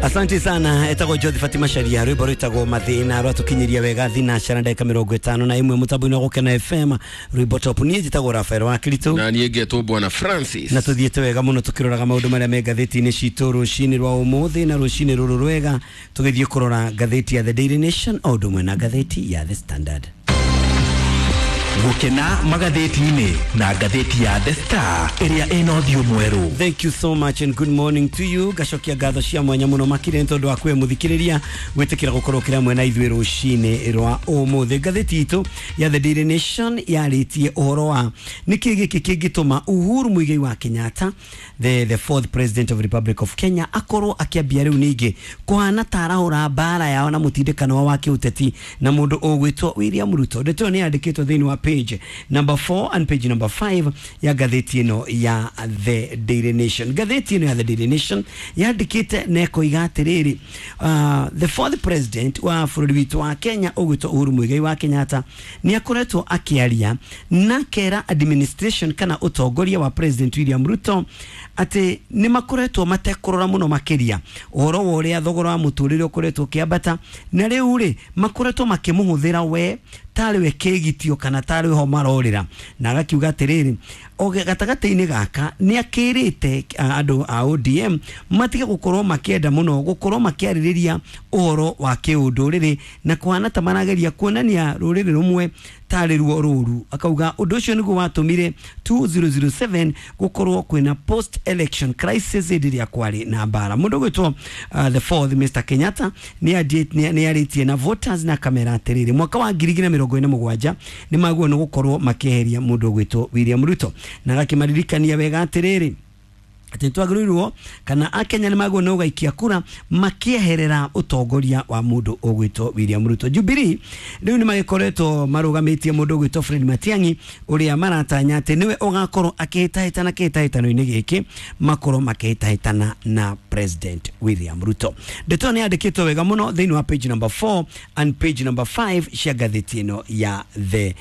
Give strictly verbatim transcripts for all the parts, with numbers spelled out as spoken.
Asante sana. Etagwo Jothi Fatima Sharia, rwimbo rwitagwo Mathina rwatukinyiria wega thinacara ndagika mirongo itano na imwe mutambo-inĩ wa Gũkena F M, rwimbo top. Niĩ njĩtagwo Rafael wa Kristo na niĩ ngetwo Bwana Francis, na tuthiĩte wega mũno tukĩroraga maũndũ marĩa me ngathĩti-inĩ citũ rũcinĩ rwa ũmũthĩ na rũcinĩ rũrũ rwega tũgĩthiĩ kũrora ngathĩti ya The Daily Nation o ũndũ ũmwe na ngathĩti ya The Standard. Gũkena magathĩti-inĩ na ngathĩti ya The Star ĩrĩa ĩna ũthiũ mwerũ. Thank you so much and good morning to you. Ngacokia ngatho cia mwanya mũno makĩria nĩ tondũ wa kwĩ mũthikĩrĩria gwĩtĩkĩra gũkorwo kĩrĩa mwena ithuĩ rũcinĩ rwa ũmũthĩ. Ngathĩti itũ ya The Daily Nation yarĩtie ũhoro wa nĩkĩ gĩkĩ kĩngĩtũma Uhuru Muigai wa Kenyatta, the, the fourth president of the Republic of Kenya, akorwo akĩambia rĩu ningĩ kũhana ta arahũra mbara yao na mũtindĩkano wa kĩũteti na mũndũ ũgwĩtwo William Ruto. Ndeto ĩyo nĩ yandĩkĩtwo thĩinĩ wa page number four and page number five ya ngathĩti ĩno ya The Daily Nation. Ngathĩti ĩno ya The Daily Nation yandĩkĩte na ĩkoiga atĩrĩrĩ, uh, the fourth president wa bũrũri witũ wa Kenya ũgwĩtwo Uhuru Muigai wa Kenyatta nĩ akoretwo akĩaria na kera administration kana ũtongoria wa President William Ruto atĩ nĩ makoretwo matekũrora mũno makĩria ũhoro wa ũrĩa thogora wa mũtũrĩre ũkoretwo ũkĩambata, na rĩu rĩ makoretwo makĩmũhũthĩra we tarĩ we kĩgitio kana tarĩ ho marorĩra, na agakiuga atĩrĩrĩ oge gatagatĩ-inĩ gaka nĩ akĩrĩte andũ a O D M matige gũkorwo makĩenda mũno gũkorwo makĩarĩrĩria ũhoro wa kĩũndũrĩrĩ na kũhana ta marageria kuonania rũrĩrĩ rũmwe tarĩ ruo rũru. Akauga ũndũ ũcio nĩguo watũmire two zero zero seven gũkorwo kwĩna post election crisis hĩndĩ ĩrĩa kwarĩ na mbara. Mũndũ ũgwĩtwo uh, the fourth Mister Kenyatta nĩ arĩtie na voters na kamera atĩrĩrĩ mwaka wa ngiri igĩrĩ na mĩrongo ĩna mũgwanja nĩ magwo nĩ gũkorwo makĩeheria mũndũ ũgwĩtwo William Ruto, na agakĩmaririkania wega atĩrĩrĩ atĩ twagĩrĩirwo kana akenya nĩ magwo nĩ gũgaikia kura makĩeherera ũtongoria wa mũndũ ũgwĩtwo William Ruto. Jubilee rĩu nĩ magĩkoretwo marũgamĩtie mũndũ ũgwĩtwo Fred Matiang'i ũrĩa maratanya atĩ nĩwe ũgakorwo akĩhĩtahĩtana kĩhĩtahĩtano-inĩ gĩkĩ makorwo makĩhĩtahĩtana na President William Ruto. Ndeto nĩ yandĩkĩtwo wega mũno thĩinĩ wa page number four and page number five cia ngathĩti ĩno ya The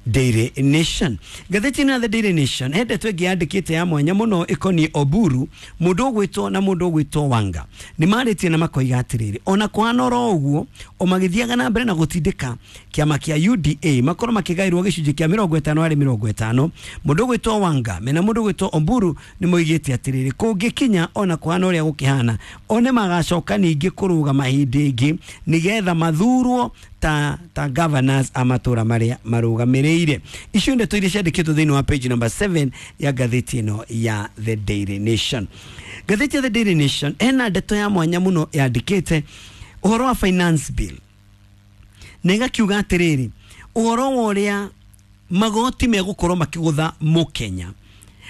Daily Nation. Ngathĩti ĩno ya The Daily Nation he ndeto ĩngĩ yandĩkĩte ya mwanya mũno ĩkoniĩ Oburu, mũndũ ũgwĩtwo na mũndũ ũgwĩtwo Wanga. Nĩ marĩtie na makoiga atĩrĩrĩ, ona kũhana oro ũguo o magĩthiaga na mbere na gũtindĩka kĩama kĩa U D A makorwo makĩgaĩrwo gĩcunjĩ kĩa mĩrongo ĩtano harĩ mĩrongo ĩtano, mũndũ ũgwĩtwo Wanga mena mũndũ ũgwĩtwo Oburu nĩ moigĩte atĩrĩrĩ kũngĩkinya ona kũhana ũrĩa gũkĩhana one magacoka ningĩ kũrũgama hĩndĩ ĩngĩ nĩgetha mathurwo ta ta governors a matũra marĩa marũgamĩrĩire. Icio ndeto iria ciandĩkĩtwo thĩinĩ wa page number seven ya ngathĩti ĩno ya The Daily Nation. Ngathĩti ya The Daily Nation ena ndeto ya mwanya mũno yandĩkĩte ũhoro wa finance bill na ĩgakiuga atĩrĩrĩ ũhoro wa ũrĩa magoti megũkorwo makĩgũtha mũkenya.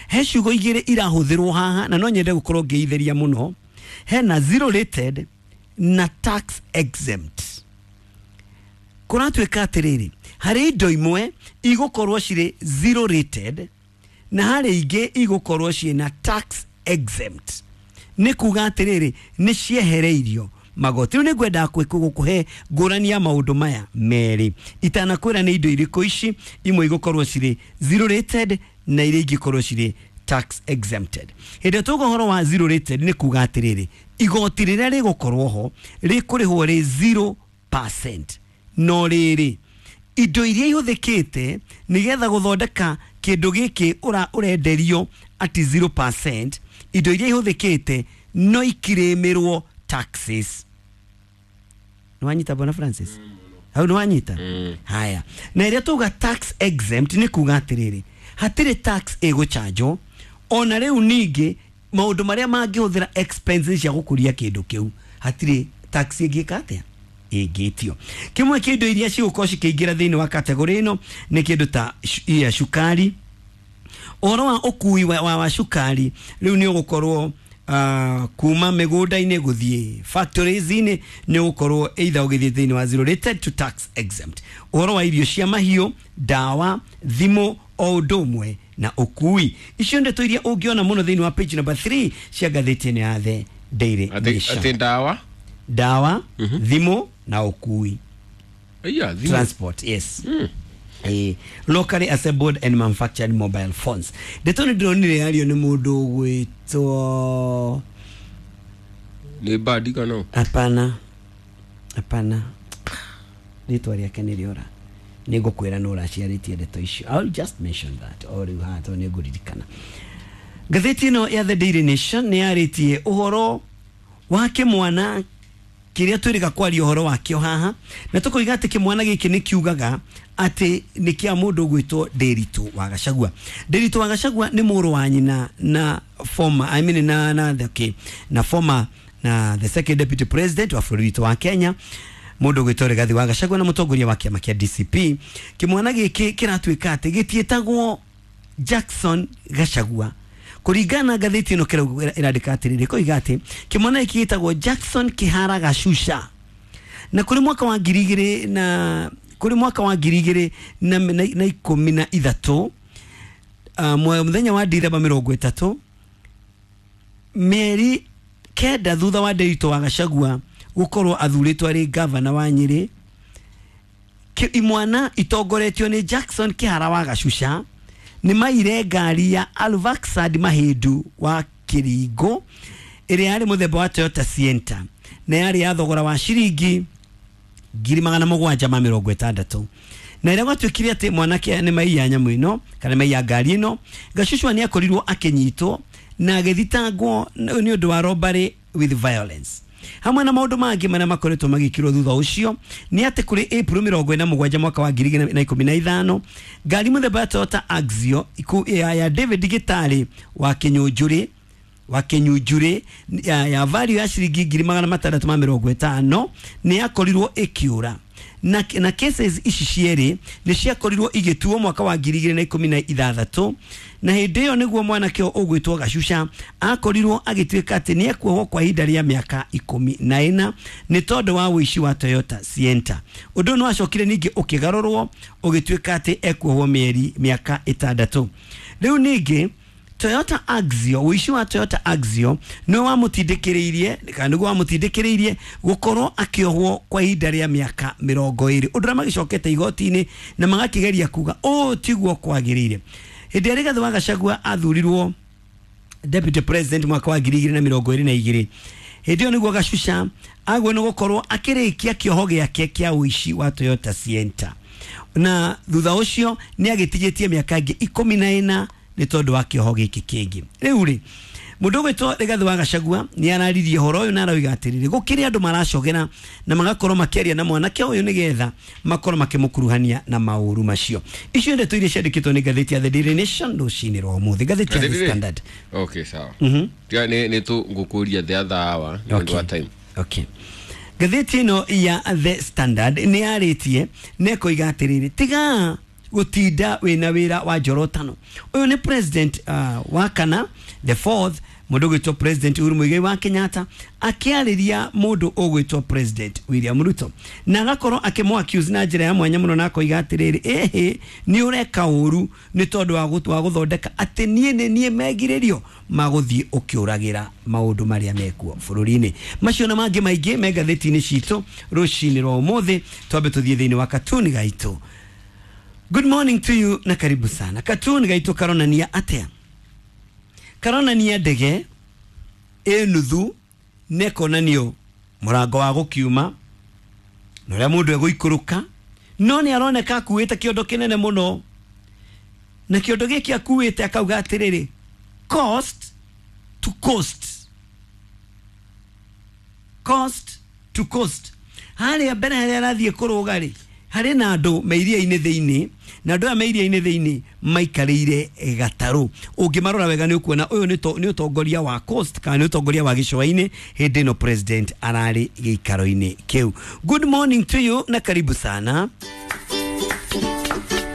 He ciugo igĩrĩ irahũthĩrwo haha na no nyende gũkorwo ngĩitheria mũno, hena zero rated na tax exempt. Kũratuĩka atĩrĩrĩ harĩ indo imwe igũkorwo cirĩ zero rated na harĩ ingĩ igũkorwo ciĩna tax exempt. Nĩ kuga atĩrĩrĩ nĩ ciehereirio magoti. Rĩu nĩngwendaga gũkũhe ngũrani ya maũndũ maya merĩ itanakwĩra nĩ indo irĩkũ ici imwe igũkorwo cirĩ zero rated na iria ingĩkorwo cirĩ tax exempted. Hĩndĩ ĩrĩa tuga ũhoro wa zero rated nĩ kuga atĩrĩrĩ igoti rĩrĩa rĩgũkorwo ho rĩkũrĩhwo rĩ zero percent, no rĩrĩ indo iria ihũthĩkĩte nĩgetha gũthondeka kĩndũ gĩkĩ ũra ũrenderio ati zero percent, indo iria ihũthĩkĩte no ikirĩmĩrwo taxes. Nĩwanyita Bwana Francis? Hau nĩwanyita? Haya. Na ĩrĩa tuga tax exempt nĩ kuga atĩrĩrĩ hatirĩ tax ĩgũchanjwo ona rĩu ningĩ maũndũ marĩa mangĩhũthĩra expenses cia gũkũria kĩndũ kĩu hatirĩ tax ĩngĩka atĩa ĩngĩtio. Kĩmwe kĩa indo iria cigũkorwo cikĩingĩra thĩinĩ wa category ĩno nĩ kĩndũ ta ya cukari. Ũhoro wa ũkui wa, wa, wa cukari rĩu nĩ ũgũkorwo uh, kuma mĩgũnda-inĩ gũthiĩ factories-inĩ nĩ ũgũkorwo either ũgĩthiĩ thĩinĩ wa zero rated to tax exempt. Ũhoro wa irio cia mahiũ, ndawa, thimũ o ũndũ ũmwe na ũkui. Icio ndeto iria ũngĩona mũno thĩinĩ wa page number three cia ngathĩti ĩno ya The Daily Nation. Atĩ ndawa, ndawa, thimũ na ũkui. Yeah, transport, yes. Mm. Eh, locally assembled and manufactured mobile phones. Ndeto nĩ ndĩronire yario nĩ mũndũ ũgwĩtwo Nĩ badi kana? Hapana, hapana, rĩtwa rĩake nĩ rĩora, nĩ ngũkwĩra nũ ũraciarĩtie ndeto icio. I'll just mention that o rĩu haha tondũ nĩ ngũririkana. Ngathĩti ĩno ya The Daily Nation nĩ yarĩtie ũhoro wa kĩmwana kĩrĩa twĩrĩga kwaria ũhoro wakĩo haha, na tũkoiga atĩ kĩmwana gĩkĩ nĩ kiugaga atĩ nĩ kĩa mũndũ ũgwĩtwo Nderitu wa Gachagua. Nderitu wa Gachagua nĩ mũrũ wa nyina na former, I mean, na, na, okay, na former na the second deputy president wa bũrũri witũ wa Kenya, mũndũ ũgwĩtwo Rigathi wa Gachagua na mũtongoria wa kĩama kĩa D C P. Kĩmwana gĩkĩ kĩratuĩka atĩ gĩtiĩtagwo Jackson Gachagua kũringana na ngathĩti ĩno. Kĩrauga, ĩrandĩka atĩrĩrĩ, koiga atĩ kĩmwana gĩkĩ gĩtagwo Jackson Kĩhara Gacuca, na kũrĩ mwaka wa ngiri igĩrĩ na kũrĩ mwaka wa ngiri igĩrĩ na, na, na ikũmi na ithatũ, uh, mũthenya wa Dithemba mĩrongo ĩtatũ, mĩeri kenda thutha wa Nderitu wa Gachagua gũkorwo athurĩtwo arĩ gavana wa Nyĩrĩ, Ki- imwana itongoretio nĩ Jackson Kĩhara wa Gacuca nĩ maire ngari ya Alvaxad Mahĩndu wa Kĩringo ĩrĩa yarĩ mũthemba wa Toyota Sienta na yarĩ ya thogora wa ciringi ngiri magana mũgwanja ma mĩrongo ĩtandatũ. Na ĩrĩa gwatuĩkire atĩ mwanake nĩ maiya nyamũ ĩno kana maiya ngari ĩno, Gacucua nĩ akorirwo akĩnyitwo na agĩthitangwo nĩ ũndũ wa robbery with violence hamwe na maũndũ mangĩ marĩa makoretwo magĩkĩrwo thutha ũcio. Nĩ atĩ kũrĩ April mĩrongo ĩna mũgwanja mwaka wa ngiri igĩrĩ na ikũmi na ithano, ngari mũthemba wa Toyota Axio iku- ya, ya David Gĩtarĩ wa Kĩnyũnjũrĩ wa Kĩnyunjurĩ ya, ya value ya ciringi ngiri magana matandatũ ma mĩrongo ĩtano nĩ yakorirwo ĩkĩũra. na, na cases ici cierĩ nĩ ciakorirwo igĩtuo mwaka wa ngiri igĩrĩ na ikũmi na ithathatũ, na hĩndĩ ĩyo nĩguo mwanake ũyũ ũgwĩtwo Gacuca akorirwo agĩtuĩka atĩ nĩ ekuohwo kwa ihinda rĩa mĩaka ikũmi na ĩna nĩ tondũ wa ũici wa Toyota Sienta. Ũndũ ũyũ nĩ wacokire ningĩ ũkĩgarũrwo ũgĩtuĩka atĩ ekuohwo mĩeri mĩaka ĩtandatũ. Rĩu ningĩ Toyota Axio, ũici wa Toyota Axio nĩ wamũtindĩkĩrĩirie kana nĩguo wamũtindĩkĩrĩirie gũkorwo akĩohwo kwa ihinda rĩa mĩaka mĩrongo ĩrĩ, ũndũ ũrĩa magĩcokete igoti-inĩ na magakĩgeria kuga ũũ tiguo kwagĩrĩire. Hĩndĩ ĩrĩa Rigathĩ wa Gachagua athurirwo deputy president mwaka wa ngiri igĩrĩ na mĩrongo ĩrĩ na igĩrĩ, hĩndĩ ĩyo nĩguo Gacuca agwo nĩ gũkorwo akĩrĩkia kĩoho gĩake kĩa ũici wa Toyota Sienta, na thutha ũcio nĩ agĩtigĩtie mĩaka ĩngĩ ikũmi na ĩna nĩ tondũ wa kĩoho gĩkĩ kĩngĩ. Rĩu rĩ, mũndũ ũgwĩtwo Rigathĩ wa Gachagua nĩ araririe ũhoro ũyũ na arauga atĩrĩrĩ, gũkĩrĩ andũ maracogera na magakorwo makĩaria na mwanake ũyũ nĩgetha makorwo makĩmũkuruhania na maũru macio. Icio ndeto iria ciandĩkĩtwo nĩ ngathĩti ya The Daily Nation rũcinĩ rwa ũmũthĩ. Ngathĩti ya The Ngathĩti rĩ? Standard. Okay, sawa. Mhm. Tiga nĩ nĩ tũ ngũkũria the other hour nĩ ũndũ wa time. Okay. Ngathĩti ĩno ya The Standard nĩ yarĩtie na ĩkoiga atĩrĩrĩ, tiga gũtinda wĩna wĩra wa njorotano. Ũyũ nĩ president uh, wa kana, the fourth, mũndũ ũgwĩtwo President Uhuru Muigai wa Kenyatta akĩarĩria mũndũ ũgwĩtwo President William Ruto na agakorwo akĩmũ accuse na njĩra ya mwanya mũno, na akoiga atĩrĩrĩ, ĩhĩ, nĩ ũreka ũru nĩ tondũ wa gũtu- wa gũthondeka atĩ niĩ nĩ niĩ megirĩrio magũthiĩ ũkĩũragĩra maũndũ marĩa mekuo bũrũri-inĩ. Macio na mangĩ maingĩ me ngathĩti-inĩ citũ rũcinĩ rwa ũmũthĩ. Twambe tũthiĩ thĩinĩ wa katuni gaitũ. Good morning to you na karibu sana. Katuni gaitũ karonania atĩa? Karonania ndege ĩ nuthu na ĩkonanio mũrango wa gũkiuma na ũrĩa mũndũ egũikũrũka, no nĩ aroneka akuĩte kĩondo kĩnene mũno, na kĩondo gĩkĩ akuĩte akauga atĩrĩrĩ, "Coast to coast, coast to coast." Harĩa mbere harĩa arathiĩ kũrũga rĩ, harĩ na andũ me iria-inĩ thĩinĩ, na andũ aya me iria-inĩ thĩinĩ maikarĩire gatarũ. Ũngĩmarora wega nĩ ũkuona ũyũ nĩ to- nĩ ũtongoria wa coast kana nĩ ũtongoria wa gĩcũa-inĩ hĩndĩ ĩno president ararĩ gĩikaro-inĩ kĩu. Good morning to you na karibu sana.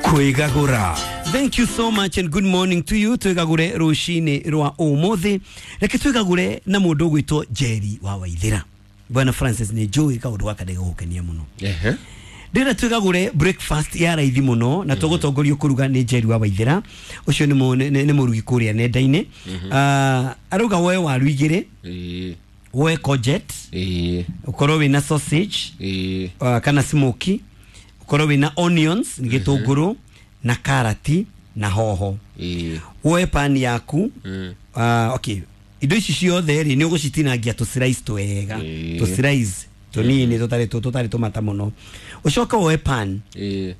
Kwĩgagũra. Thank you so much and good morning to you. Twĩgagũre rũcinĩ rwa ũmũthĩ, reke twĩgagũre na mũndũ ũgwĩtwo Njeri wa Waithĩra. Bwana Francis, nĩ njũĩ kaũndũ gaka ndĩgũgũkenia mũno. Ehe. Ndĩrenda twĩgagũre breakfast ya raithi mũno na tũgũtongorio kũruga nĩ Njeri wa Waithĩra. Ũcio nĩ mũ- nĩ nĩ mũrugi kũrĩa nenda-inĩ. Ah, arauga woe waru igĩrĩ, Ĩĩ. woe courgette, Ĩĩ. ũkorwo wĩna sausage Ĩĩ. uh, kana smoky, ũkorwo wĩna onions, nĩ gĩtũngũrũ, na karati na hoho. Ĩĩ. Woe pani yaku. Mm. uh, okay Indo ici ciothe rĩ nĩ ũgũcitinangia tũ slice twega, tũ slice tũnini tũtarĩ tũtarĩ tũmata mũno. Ũcoke woe pan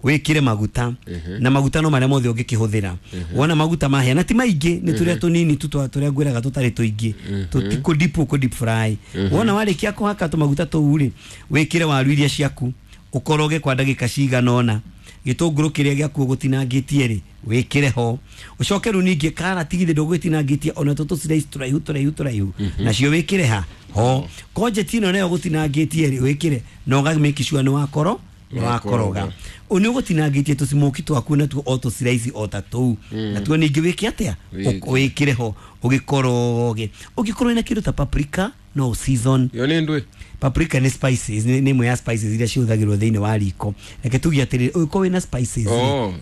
wĩkĩre maguta, na maguta no marĩa mothe ũngĩkĩhũthĩra. Wona maguta mahĩa na ti maingĩ, nĩ tũrĩa tũnini tu tũrĩa ngwĩraga tũtarĩ tũingĩ, tũtikũ deep kũ deep fry. Wona warĩkia kũhaka tũmaguta tũu rĩ, wĩkĩre waru iria ciaku, ũkoroge kwa ndagĩka cigana ũna. Gĩtũngũrũ kĩrĩa gĩaku ũgũtinangĩtie rĩ, wĩkĩre ho. Ũcoke rĩu ningĩ karati githĩ ndũgũgĩtinangĩtie ona tũtũ slice tũraihu tũraihu tũraihu, nacio wĩkĩre ha ho. Courgette ĩno nayo ũgũtinangĩtie rĩ, wĩkĩre na ũga make sure nĩ wakoro nĩ wakoroga. Nĩ ũgũtinangĩtie tũcimoki twaku natuo o tũ slice o ta tũu, natuo ningĩ wĩke atĩa, wĩkĩre ho ũgĩkoroge. Ũngĩkorwo wĩna kĩndũ ta paprika no season. Yo nĩ ndũĩ? Paprika nĩ spices, nĩ ĩmwe ya spices iria cihũthagĩrwo thĩinĩ wa riko. Reke tuge atĩrĩrĩ, ũngĩkorwo wĩna spices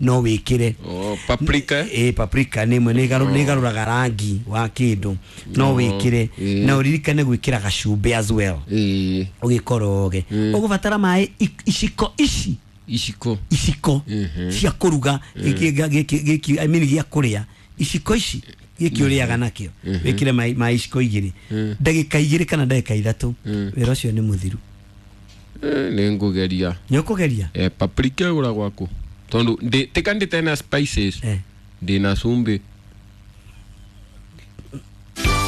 no wĩkĩre. Oh, paprika? Ĩ, paprika nĩ ĩmwe nĩ ĩgarũraga rangi wa kĩndũ, no wĩkĩre. Na ũririkane gwĩkĩra gacumbĩ as well. Ũgĩkoroge. Ũgũbatara maĩ iciko ici iciko iciko cia kũruga gĩkĩ gĩkĩ I mean gĩa kũrĩa, iciko ici gĩkĩ ũrĩaga nakĩo, wĩkĩre maĩ iciko igĩrĩ, ndagĩka igĩrĩ kana ndagĩka ithatũ, wĩra ũcio nĩ mũthiru. Nĩ ngũgeria. Nĩ ũkũgeria? Eh, paprika ĩgũragwo kũ? Tondũ tika ndĩte na spices, ndĩna cumbĩ.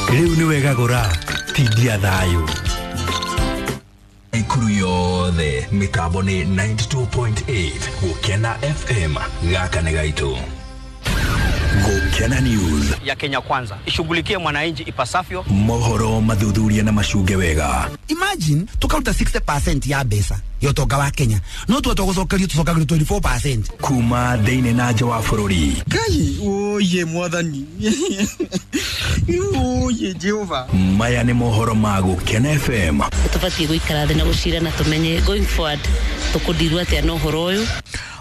Rĩu nĩ wega gũra tindia thayũ. Ikuru yothe mitambo ni ninety-two point eight Gukena F M gaka nĩ gaitũ. Gukena News ya Kenya Kwanza ishughulikie mwananchi ipasavyo. Mohoro mathuthuria na macunge wega. Imagine tukaruta sixty percent ya mbeca ya ũtonga wa Kenya, no tuote gũcokerio tũcokagĩrio twenty-four percent kuma thĩinĩ na nja wa bũrũri. Ngai oye mwathani oye Jehova. Maya nĩ mohoro ma Gukena F M. Tũbatiĩ gũikara thĩ na gũcira na tũmenye going forward tũkũndirwo atĩa na ũhoro ũyũ.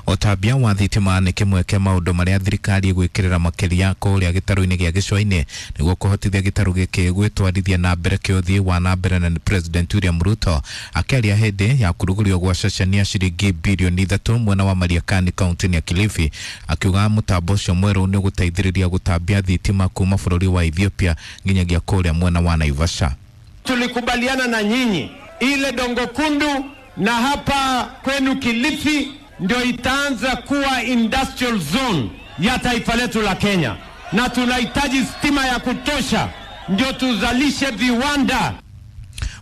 Ũtambia wa thitima nĩ kĩmwe kĩa maũndũ marĩa thirikari ĩgwĩkĩrĩra makĩria kũrĩa gĩtarũ-inĩ gĩa Gĩcũa-inĩ nĩguo kũhotithia gĩtarũ gĩkĩ gwĩtwarithia na mbere kĩũthiĩ wa na mbere. Na President William Ruto akĩaria hĩndĩ ya kũrugũrio gwa ceceni ya ciringi bilioni ithatũ mwena wa Mariakani kaunti-inĩ ya Kilifi, akiuga mũtambo ũcio mwerũ nĩ ũgũteithĩrĩria gũtambia thitima kuma bũrũri wa Ethiopia nginyagia kũrĩa mwena wa Naivasha. Tulikubaliana na nyinyi ile Dongo Kundu na hapa kwenu Kilifi ndio itaanza kuwa industrial zone ya taifa letu la Kenya, na tunahitaji stima ya kutosha ndio tuzalishe viwanda.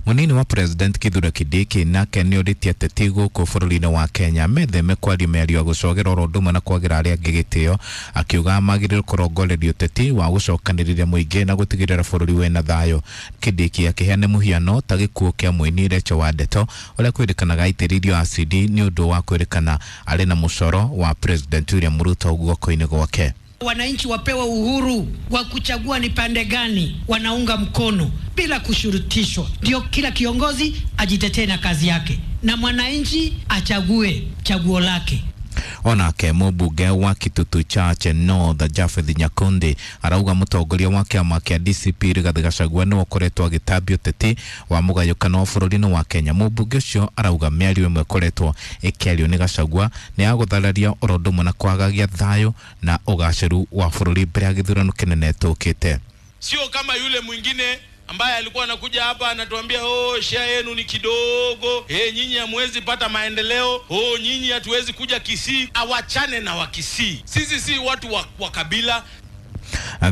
Munini wa President Kithure Kindiki nake nĩ orĩtie ateti gũkũ bũrũri-inĩ wa Kenya metheme kwaria mĩario ya gũcogera oro ũndũ ũmwe na kwagĩra arĩa angĩ gĩtĩo, akiuga magĩrĩirwo kũrongoreria ũteti wa gũcokanĩrĩria mũingĩ na gũtigĩrĩra bũrũri wĩna thayũ. Kindiki akĩheana mũhiano ta gĩkuũ kĩa mũini Rachel Wandeto ũrĩa kwĩrĩkanaga aitĩrĩirio acidi nĩ ũndũ wa kwĩrĩkana arĩ na mũcoro wa President William Ruto guoko-inĩ gwake. Wananchi wapewe uhuru wa kuchagua ni pande gani wanaunga mkono bila kushurutishwa. Ndio kila kiongozi ajitetee na kazi yake na mwananchi achague chaguo lake. Onake mũmbunge wa Kitutu Chache North Japheth Nyakundi arauga mũtongoria wa kĩama kĩa D C P Rigathi Gachagua nĩwe ũkoretwo agĩtambia ũteti wa mũgayũkano wa bũrũri-inĩ wa Kenya. Mũmbunge ũcio arauga mĩario ĩmwe ĩkoretwo ĩkĩario nĩ Gachagua nĩ ya gũthararia oro ũndũ ũmwe na kwagagia thayũ na ũgacĩru wa bũrũri mbere ya gĩthurano kĩnene tũkĩte. Sio kama yule mwingine ambaye alikuwa anakuja hapa anatuambia oh, share yenu ni kidogo, eh, nyinyi hamwezi pata maendeleo, oh, nyinyi hatuwezi kuja Kisii. Awachane na wa Kisii. Sisi si watu wa, wa kabila.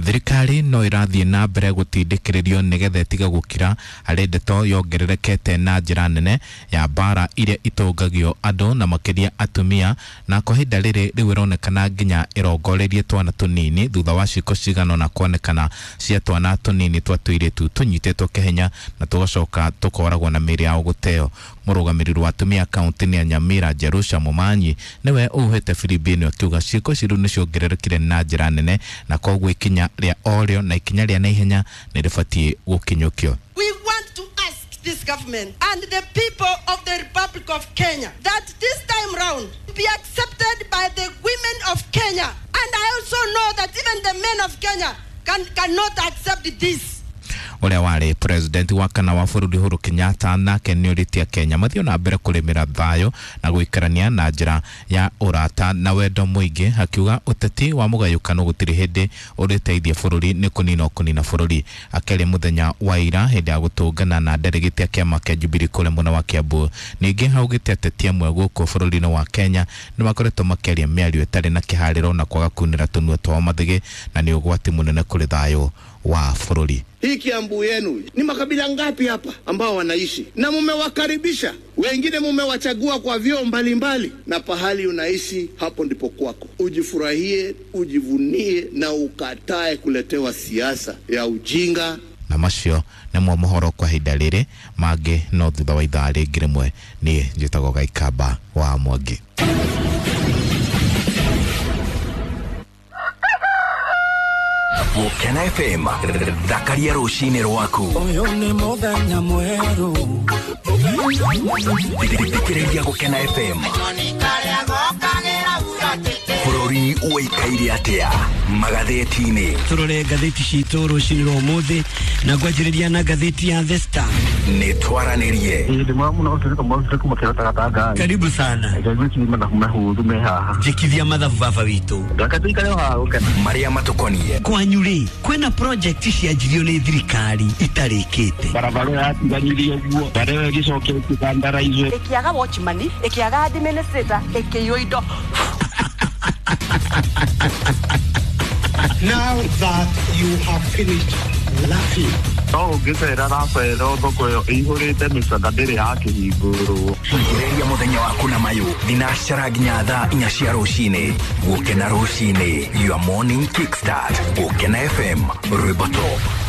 Thirikari no ĩrathiĩ na mbere gũtindĩkĩrĩrio nĩgetha ĩtige gũkira harĩ ndeto yongererekete na njĩra nene ya mbara iria itũngagio andũ na makĩria atumia, na kwa ihinda rĩrĩ rĩu ĩronekana nginya ĩrongoreirie twana tũnini thutha wa ciĩko cigana ũna kuonekana cia twana tũnini twa tũirĩtu tũnyitĩtwo kĩhenya na tũgacoka tũkoragwo na mĩĩrĩ yao gũteo. Mũrũgamĩrĩri wa atumia kaunti-inĩ ya Nyamira Jerusha Momanyi nĩwe ũhuhĩte firimbi ĩno akiuga ciĩko ici rĩu nĩciongererekire na njĩra nene na koguo ikinya rĩa orĩo na ikinya rĩa naihenya nĩ rĩbatiĩ gũkinyũkio. We want to ask this government and the people of the Republic of Kenya that this time round be accepted by the women of Kenya, and I also know that even the men of Kenya can, cannot accept this. Ũrĩa warĩ president wa kana wa bũrũri Uhuru Kenyatta nake nĩorĩtie Kenya mathiĩ na mbere kũrĩmĩra thayũ na gũikarania na njĩra ya ũrata na wendo mũingĩ, akiuga ũteti wa mũgayũkano gũtirĩ hĩndĩ ũrĩteithia bũrũri nĩ kũnina kũnina bũrũri. Akĩaria mũthenya wa ira hĩndĩ ya gũtũngana na delegate ya kĩama kĩa Jubilee kũrĩa mwena wa Kiambu. Ningĩ augĩte ateti amwe gũkũ bũrũri-inĩ wa Kenya nĩ makoretwo makĩaria mĩario ĩtarĩ na kĩharĩro na kwaga kunĩra tũnua twao mathĩgĩ, na nĩ ũgwati mũnene kũrĩ thayũ wa bũrũri. Hii Kiambu yenu ni makabila ngapi hapa ambao wanaishi, na mumewakaribisha wengine, mumewachagua kwa vyoo mbalimbali, na pahali unaishi hapo ndipo kwako. Ujifurahie, ujivunie na ukatae kuletewa siasa ya ujinga. Na macio nĩmo mohoro kwa ihinda rĩrĩ, mangĩ no thutha wa ithaa rĩngĩ rĩmwe. Niĩ njĩtagwo Gaikamba wa Mwangi. Gũkena F M, thakaria rũcinĩ rwaku. Ũyũ nĩ mũthenya mwerũ. Thikĩrĩria Gũkena F M. Bũrũri ũikaire atĩa magathĩti-inĩ? Tũrore ngathĩti citũ rũcinĩ rwa ũmũthĩ na ngwanjĩrĩria na ngathĩti ya The Star. Nĩ twaranĩrie. Karibu sana. Njĩkithia mathabu baba witũ. Marĩa matũkoniĩ. Kwanyu rĩ, kwĩna project cianjirio nĩ thirikari itarĩkĩte. Barabara yatiganirie ũguo, barabara ĩyo ĩgĩcokia ĩkĩkandaraize. Ĩkĩaga watchman, ĩkĩaga administrator, ĩkĩiywo indo. Now that you have finished laughing. No ũngĩcera Rafaelo thoko ĩyo ĩihũrĩte mĩcanda ndĩrĩ yakĩhingũrwo. Ambĩrĩria mũthenya waku na mayũ thinacara nginya thaa inya cia rũcinĩ. Gũkena rũcinĩ, your morning kickstart. Gũkena F M, rwĩmbo top.